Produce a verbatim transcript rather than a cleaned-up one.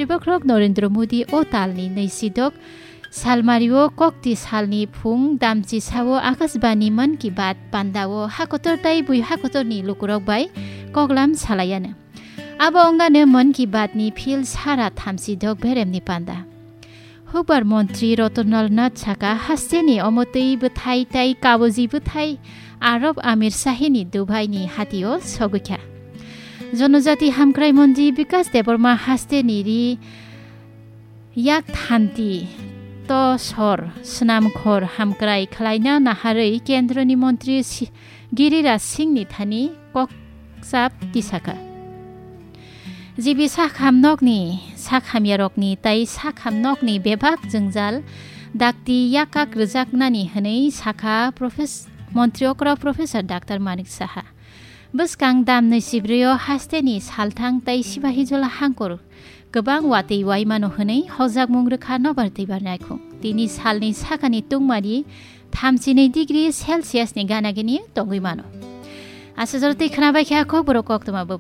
Bokhorok Narendra Modi o talni naisidok salmario kokti salni phung damchi sao Akashbani Mann Ki Baat pandao hakotor tai bui hakotorni lukurok bai koklam salaiano. Abo wngano Mann Ki Baatni phil sara thamsidok beremni panda. Hukbar montri Ratan Lal Nath saka hasteni omotwi bwthai tai kabuji bwthai Arab Amir Shahini Dubaini hatio sogwikha. Jonojati hamkrai montri Bikas Debbarma hasteni ri yak thanti to sor swnamkhor hamkrai khlaina naharwi kendroni montri si-, Giriraj Singhni thani kokchap tisaka. Jibi sakham nokni, sakhamyarokni tai sakham nokni bebak jwngjal dakti yakak rwjaknani hwnwi sakha Profes-, Montri okra Professor Doctor Manik Saha. Bwskang damnwi sibrio hasteni salthang tai sibahijola hangkor kwbang watwi waimano hwnwi hokjakmung rwkha nobar twibar naikhung. Tini salni sakani tungmari thamchinwi degree Celsius ni ganagini tongwi mano. Aswk jora twi khwnabai kha kokborok koktwma bo